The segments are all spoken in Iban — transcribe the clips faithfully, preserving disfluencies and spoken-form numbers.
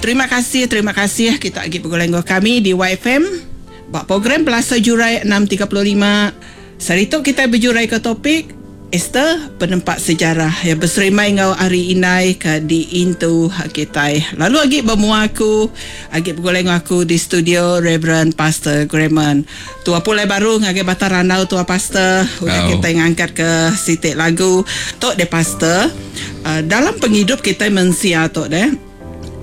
Terima kasih, terima kasih kita agi begulai enggau kami di Y F M ba program Pelasa Jurai enam tiga puluh lima. Sehari tu kita bejurai ke topik Esther penempat sejarah yang berserimai enggau Hari Indai ke diintu kita. Lalu agi bermua aku, agi begulai enggau aku di studio Reverend Pastor Graham. Tua pulai baru ngagai Batang Randau tua Pastor. Udah Oh. kita ngangkat ke sitik lagu tok de Pastor. Uh, dalam penghidup kita mensia tok de,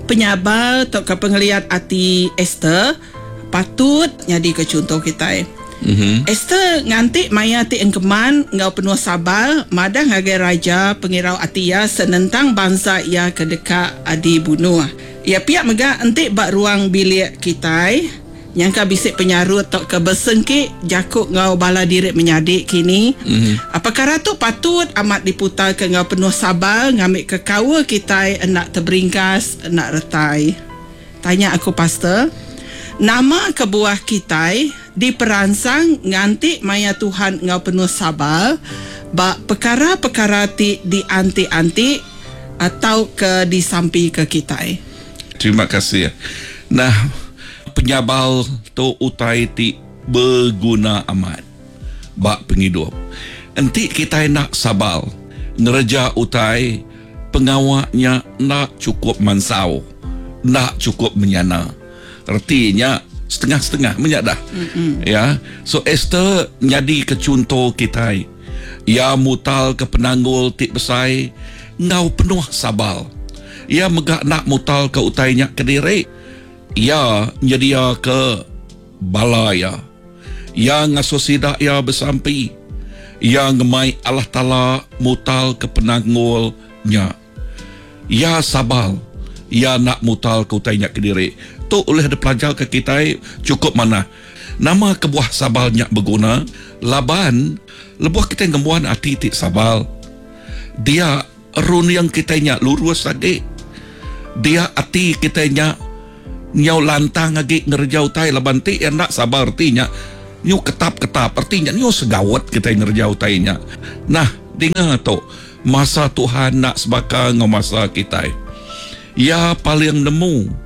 penyabar tok ke pengeliat ati Esther patut nyadi ke contoh kita. Mm-hmm. Esther nganti maya ti engkeman ngau penuh sabar madah ngagai raja pengirau ati ia senentang bangsa ia ke deka dibunuh. Ia piak mega entik bak ruang bilik kitai nyangka bisik penyarut tok ke bersengki jakuk ngau bala diri menyadik kini. Mm-hmm. Perkara tu patut amat diputar ke ngau penuh sabar ngambil ke kawa kitai nak terberingkas nak retai. Tanya aku pastor, nama kebuah kitai diperansang nganti maya Tuhan ngau penuh sabar ba perkara-perkara ti dianti-anti atau ke disampi ke kitai? Terima kasih. Nah, penyabal tu utai ti berguna amat ba penghidup. Enti kitai nak sabal ngereja utai pengawaknya nak cukup mansau, nak cukup menyana. Artinya setengah-setengah menyak dah. Mm-mm. Ya. So Esther jadi ke contoh kitai. Ia mutal ke penanggul ti besai ngau penuh sabal. Ia megak nak mutal ke utainya ke diri. Ia nyedia ke bala ia. Ia ngasuh sidak ia bersampi. Ia ngemai Allah Taala mutal ke penanggulnya. Ia sabal. Ia nak mutal ke utainya ke diri. Tu oleh dipelajar ke kita cukup mana. Nama kebuah sabalnya berguna, laban lebuh kita ngembuan ati ti sabal. Dia run yang kita nya lurus agi. Dia ati kita nya nyau lantang agi ngerja utai laban ti yang nak sabar artinya nyu ketap-ketap artinya nyu segawat kita ngerja utainya. Nah, dengar tu masa Tuhan nak sebaka ngau masa kita. Ya paling nemu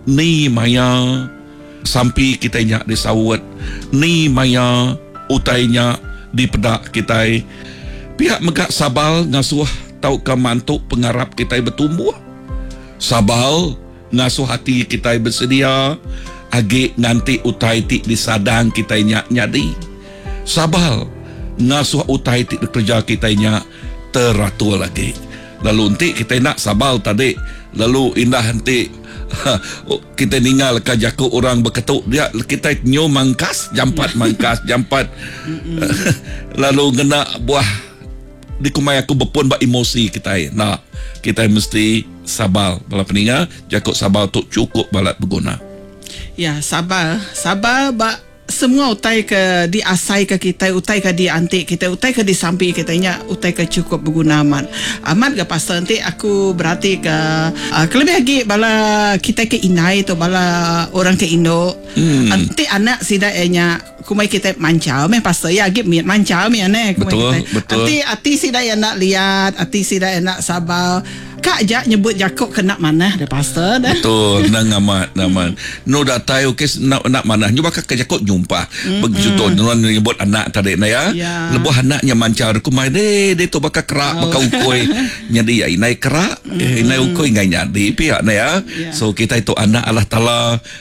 ni maya sampi kita nya disawut, ni maya utainya dipedak kita. Pihak megak sabal ngasuh tau ke mantuk pengarap kita bertumbuh. Sabal ngasuh hati kita bersedia agi nganti utai ti disadang kita nya nyadi. Sabal ngasuh utai ti dikerja kita nya teratur lagi. Lalu nanti kita nak sabal tadi, lalu indah nanti kita ninggal ke jaku orang berketuk dia, kita nyu mangkas jampat mangkas jampat. Lalu ngena buah dikumai aku berpun bak emosi kita. Nah, kita mesti sabal. Bala peninga, jakuk sabal tu cukup balat berguna. Ya, sabar. Sabar bak semua utai ke diasai ke kita, utai ke diantik kita, utai ke disampi kita nya utai ke cukup berguna amat. Amat ke pasal nanti aku berarti ke uh, kelebih lagi bala kita ke inai tu bala orang ke Indo. Hmm. Nanti anak sida nya kumai kita mancau meh pasal ya agi mancau meh ane kumai Betul, kita. betul. Nanti ati sida yang nak lihat, ati sida yang nak sabar. Kak jak nyebut jakuk kena manah dah pasal dah. Betul, nang amat, amat. No datai okey nak nak manah. Nyu bakal ke jakuk nyumpah. Mm-mm. Begitu nuan nyebut anak tadi na ya. Ya. Lebuh anaknya mancar ku mai de dia tu bakal kerak, Oh. bakal ukoi. Nyadi ya inai kerak, eh, inai ukoi ngai nyadi pihak na ya. Ya. So kita itu anak Allah Taala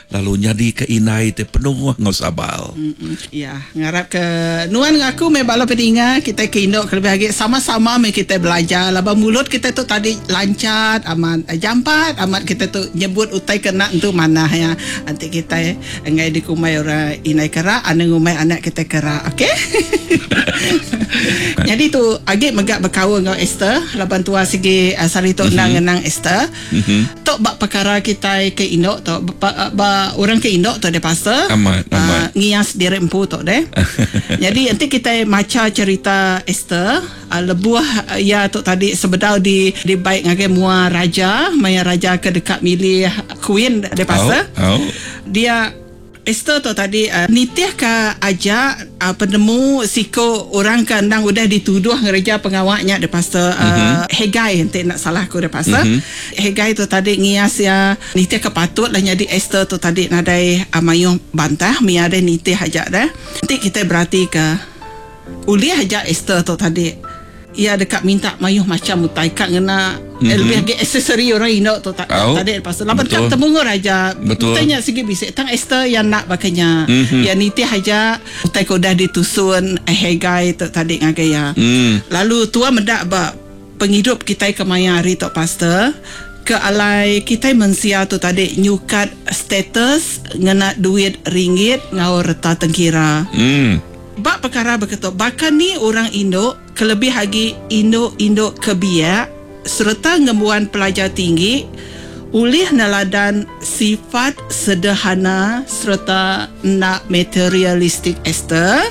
lalu nyadi ke inai te penuh ngau sabal. Mm-mm. Ya, ngarap ke nuan ngaku me bala peninga kita ke induk lebih lagi sama-sama me kita belajar laba mulut kita tu tadi lancat amat jampat amat kita tu nyebut utai kena tu manah ya. Nanti kita ngai di kumai orang inai kerak anu ngumai anak kita kerak, okey? Jadi tu agi megak berkawan dengan Esther laban tua segi uh, sari tu mm-hmm. nang ngenang Esther. Mm-hmm. Tok bak perkara kita ke induk tu ba, ba, orang ke induk tu dia pasal Amat, amat. Uh, ngias diri empu tok deh. Jadi nanti kita maca cerita Esther uh, lebuh uh, ya tok tadi sebedau di di baik ngagai mua raja, maya raja ke dekat milih queen dia pasal. Oh, oh. Dia Esther tu tadi uh, nitih ke aja uh, penemu siko orang ke endang udah dituduh ngereja pengawaknya de pastor uh, mm-hmm. Hegai enti nak salah aku de pastor. Mm-hmm. Hegai tu tadi ngias ya nitih ke patut lah jadi Esther tu tadi nadai uh, mayuh bantah mia ada nitih aja dah. Nanti kita berarti ke ulih aja Esther tu tadi ia dekat minta mayuh macam utai kat ngena mm-hmm. eh, lebih lagi aksesori orang Indo tu tak oh, tadi pasal laban kat temu raja utainya segi bisik tang Esther yang nak bakanya mm-hmm. ya nitih aja utai ke udah ditusun eh, Hegai tu tadi ngagai ya mm. Lalu tua mendak ba penghidup kita ke maya hari tu pastor ke alai kita mensia tu tadi nyukat status ngena duit ringgit ngau reta tengkira. Mm. Bak perkara berketuk bahkan ni orang Indo kelebih lagi Indo-Indo kebiak serta ngembuan pelajar tinggi ulih neladan sifat sederhana serta nak materialistik Esther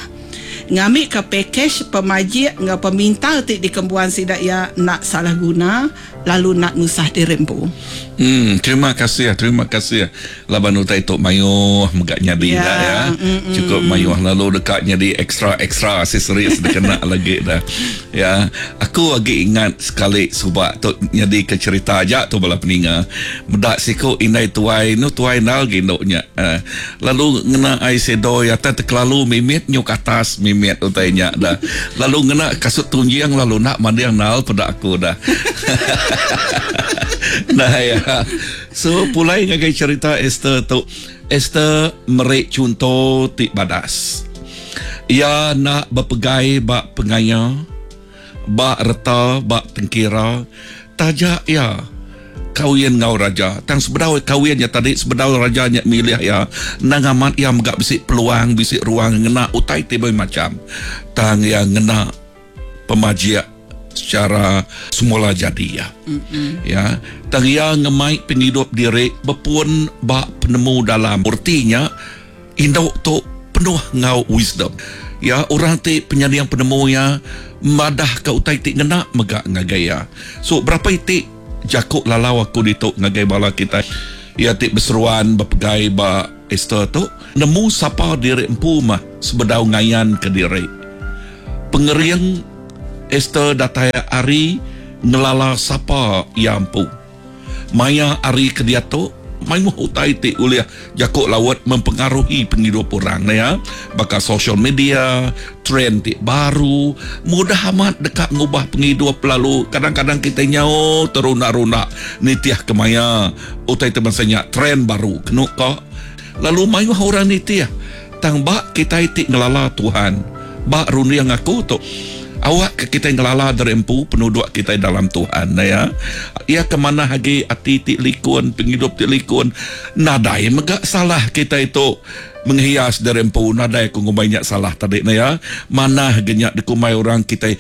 ngambil ke package pemajik ngau peminta ti dikembuan sidak ya nak salah guna lalu nak nusah dirempu. Hmm, terima kasih, terima kasih. Laban utai tok mayuh megak nyadi ya, dah ya. Mm-mm. Cukup mayuh lalu dekat nyadi ekstra-ekstra aksesoris dikena lagi dah. Ya, aku lagi ingat sekali subak tok nyadi ke cerita aja tu bala peninga. Medak siko indai tuai nu tuai nal gindoknya. Uh, lalu ngena ai sedoi atas terlalu mimit nyuk atas mimit utai nya dah. Lalu ngena kasut tunjing lalu nak mandiang nal pada aku dah. Nah ya. So pulai ngagai cerita Esther tu. Esther merik contoh ti badas. Ia nak berpegai bak pengaya, bak reta, bak tengkira, tajak ia kawin ngau raja. Tang sebedau kawinnya tadi sebedau raja nya milih ya, nang amat ia megak bisik peluang, bisik ruang ngena utai ti macam. Tang ia ngena pemajiak secara semula jadi ya. Mm-hmm. Ya, tang ia ngemai penghidup diri berpun bak penemu dalam. Artinya induk tu penuh ngau wisdom. Ya, orang ti penyadiang penemu ya madah ka utai ti ngena megak ngagai ya. So berapa itik jakuk lalau aku dituk ngagai bala kita. Ya ti berseruan berpegai ba Esther tu nemu sapa diri empu mah sebedau ngayan ke diri. Pengering Esther datai ari ngelala sapa ia empu. Maya ari ke dia tu mayuh utai ti ulih jakuk lawat mempengaruhi penghidup orang ya. Baka social media, trend ti baru, mudah amat dekat ngubah penghidup lalu kadang-kadang kita nyau teruna-runa nitiah ke maya utai teman senya trend baru kenu ka. Lalu mayuh orang nitiah tang bak kita ti ngelala Tuhan. Bak rundiang aku tu awak ke kita ngelala dari empu penduduk kita dalam Tuhan ya. Ia ke mana lagi ati ti likun, penghidup ti likun. Nadai megak salah kita itu menghias dari empu, nadai aku banyak salah tadi ya. Mana genyak dikumai orang kita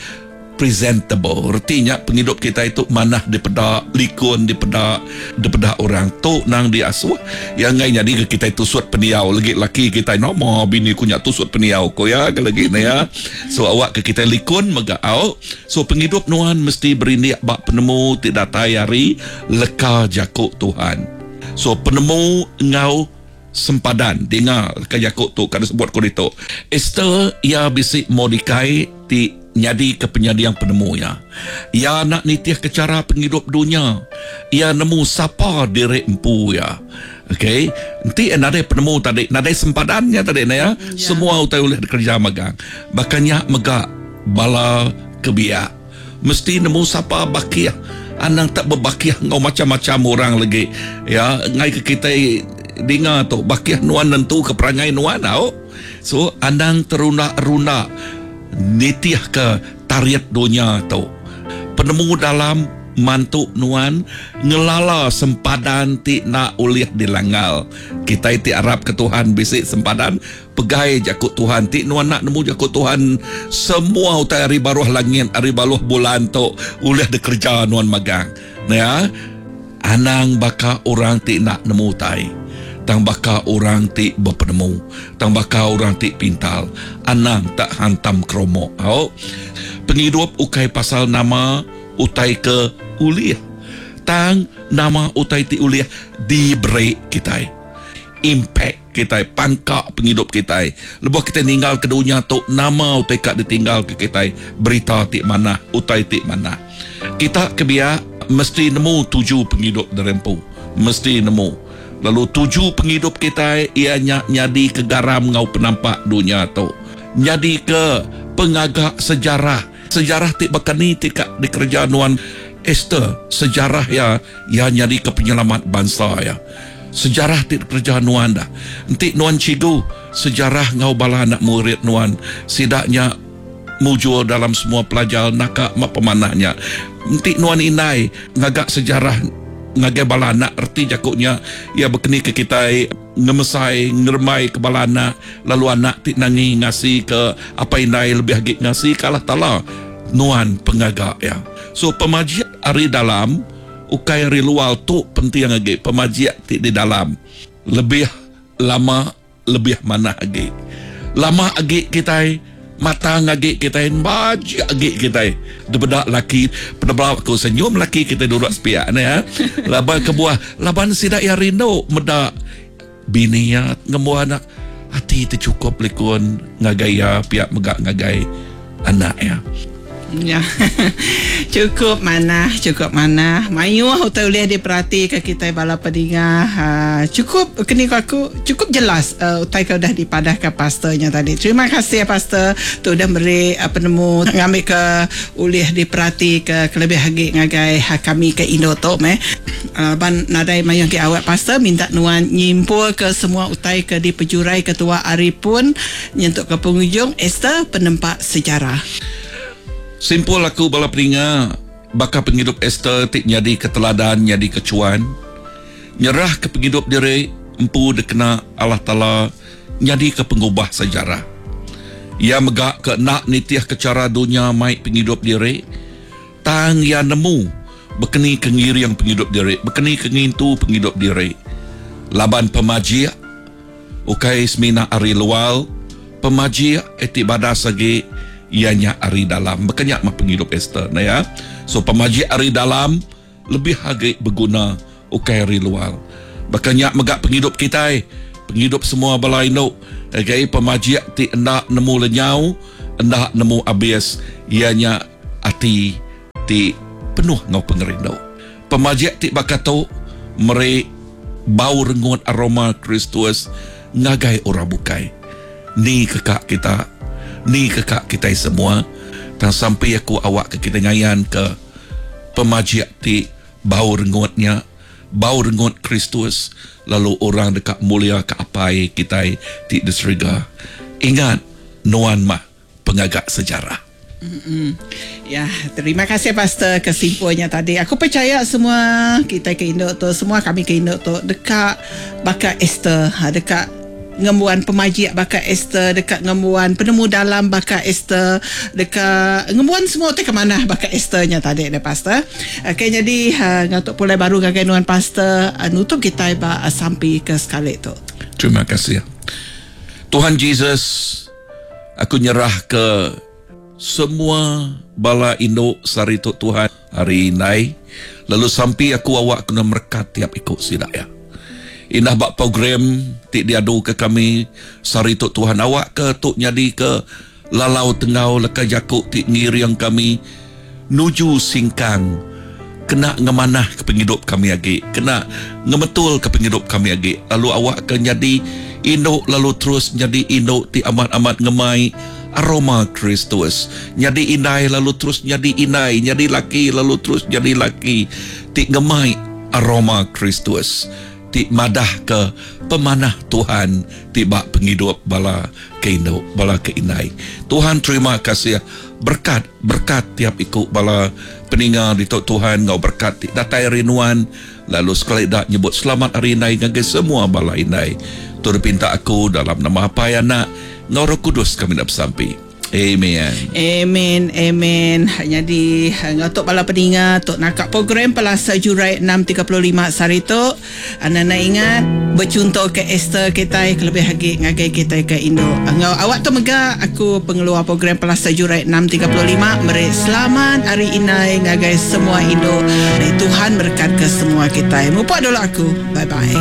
presentable. Artinya penghidup kita itu manah dipeda likun, dipeda dipeda orang tu nang diasuh. Yang ngai jadi kita itu tusut peniau lagi laki kita nomo bini kunya tusut peniau ko ya ke lagi ni ya. So awak ke kita likun megak au. So penghidup nuan mesti berindik bak penemu ti datai hari leka jakuk Tuhan. So penemu ngau sempadan dengar leka jakuk tu kada sebut ko ditu. Esther ia bisik Mordekai ti nyadi ke penyadiang penemu ya. Ia nak nitih ke cara penghidup dunia. Ia nemu sapa diri empu ya. Okey, nanti nadai penemu tadi, nadai sempadannya tadi na ya. Ya. Semua utai oleh kerja magang. Bahkannya megak bala kebiak. Mesti nemu sapa bakiah. Anang tak berbakiah ngau macam-macam orang lagi. Ya, ngai ke kita dengar tu bakiah nuan nentu ke perangai nuan tau. So anang teruna-runa nitih ke tariat dunia tu. Penemu dalam mantuk nuan ngelala sempadan ti nak ulih dilanggal. Kita ti arap ke Tuhan bisik sempadan pegai jakut Tuhan ti nuan nak nemu jakut Tuhan semua utai hari baruh langit hari baruh bulan tu ulih dikerja nuan magang. Ya, anang baka orang ti nak nemu utai. Tang baka orang ti berpenemu, tang baka orang ti pintal, anang tak hantam kromok. Au. Penghidup ukai pasal nama utai ke ulih. Tang nama utai ti ulih diberi kita. Impact kita, pangka penghidup kita. Lebuh kita ninggal ke dunia tu, nama utai ka ditinggal ke kita, berita ti manah, utai ti manah. Kita kebiak mesti nemu tuju penghidup derempu, mesti nemu. Lalu tuju penghidup kita ia nyadi ke garam ngau penampak dunia tu. Nyadi ke pengagak sejarah. Sejarah ti bakani ti ka dikerja nuan Esther, sejarah ya ya nyadi ke penyelamat bangsa ya. Sejarah ti dikerja nuan dah. Enti nuan cigu sejarah ngau bala anak murid nuan sidaknya mujur dalam semua pelajar naka mak pemanahnya. Enti nuan indai ngagak sejarah ngagai bala anak erti jakuknya ia berkeni ke kita ngemesai ngeremai ke bala anak, lalu anak ti nangi ngasi ke apa indai lebih agi ngasi ke Allah Taala nuan pengagak ya. So pemajik ari dalam ukai ari luar tu penting agi, pemajik ti di dalam lebih lama lebih manah agi. Lama agi kita matang agi kita bajik agi kita debedak laki penebelau aku senyum laki kita duduk sepiak ni ya. Laban kebuah laban sidak ya rindu medak bini ya ngemu anak hati tercukup likun ngagai ya pihak megak ngagai anak ya. Ya. Cukup manah, cukup manah. Mayuh utai ulih diperhati ke kita bala pedinga. Ha, cukup kini aku cukup jelas uh, utai ke udah dipadah ke pastornya tadi. Terima kasih pastor tu udah beri uh, penemu ngambil ke ulih diperhati ke kelebih lagi ngagai ha, kami ke Indo tu meh. Uh, ban nadai mayuh ke awak pastor minta nuan nyimpul ke semua utai ke dipejurai ketua ari pun nyentuk ke penghujung Esther penempak sejarah. Simpul aku bala peninga baka penghidup Esther ti nyadi keteladan nyadi kecuan nyerah ke penghidup diri empu dikena Allah Taala nyadi ke pengubah sejarah. Ia megak ke nak nitiah ke cara dunia mai penghidup diri tang ia nemu bekeni ke ngiring penghidup diri, bekeni ke ngintu penghidup diri. Laban pemajik ukai semina ari luar, pemajik eti badas agi ianya ari dalam. Bekenyak mah penghidup Esther nah ya. So pemajik ari dalam lebih agi berguna ukai ari luar. Bekenyak megak penghidup kita, penghidup semua bala induk. Okay, pemajik ti endak nemu lenyau, endak nemu habis, ianya ati ti penuh ngau pengerindu. Pemajik ti bakatu meri bau rengut aroma Kristus ngagai orang bukai. Ni kekak kita, ni kekak kita semua. Dan sampai aku awak ke kita ngayan ke pemajik ti bau rengutnya, bau rengut Kristus, lalu orang dekat mulia ke apai kita ti di serega. Ingat, nuan mah pengagak sejarah. Mm-mm. Ya, terima kasih pastor kesimpulannya tadi. Aku percaya semua kita ke Indo tu, semua kami ke Indo tu dekat baka Esther, ha, dekat ngembuan pemajik baka Esther, dekat ngembuan penemu dalam baka Esther, dekat ngembuan semua tu ke mana baka Esthernya tadi deh pastor. Okey, jadi uh, ngatuk pulai baru gagai nuan pastor, uh, nutup kita ba uh, sampai ke sekali tu. Terima kasih. Tuhan Jesus, aku nyerah ke semua bala induk sari tu Tuhan hari ini, lalu sampai aku awak kena merekat tiap ikut sidak ya. Indah bak program ti diadu ke kami sari tu Tuhan awak ke tu nyadi ke lalau tengau leka jakuk ti ngiriang kami nuju singkang kena ngemanah ke penghidup kami agi, kena ngemetul ke penghidup kami agi, lalu awak ke nyadi induk lalu terus nyadi induk ti amat-amat ngemai aroma Kristus, nyadi indai lalu terus nyadi indai, nyadi laki lalu terus jadi laki ti ngemai aroma Kristus, ti madah ke pemanah Tuhan ti bak penghidup bala ke induk bala ke indai. Tuhan terima kasih, berkat berkat tiap ikut bala peninga di tok Tuhan ngau berkat ti datai rinuan, lalu sekali dak nyebut selamat hari indai ngagai semua bala indai. Turut pinta aku dalam nama Apai Anak ngau Roh Kudus kami nak bersampi. Amen. Amen, amen. Jadi ngatuk bala peninga tok nakak program Pelasa Jurai enam tiga puluh lima sari tu. Anak-anak ingat bercontoh ke Esther kita kelebih lagi ngagai kita ke Indo. Ngau awak tu mega aku pengeluar program Pelasa Jurai enam tiga puluh lima meri selamat hari inai ngagai semua Indo. Tuhan berkat ke semua kita. Mupak dulu aku. Bye bye.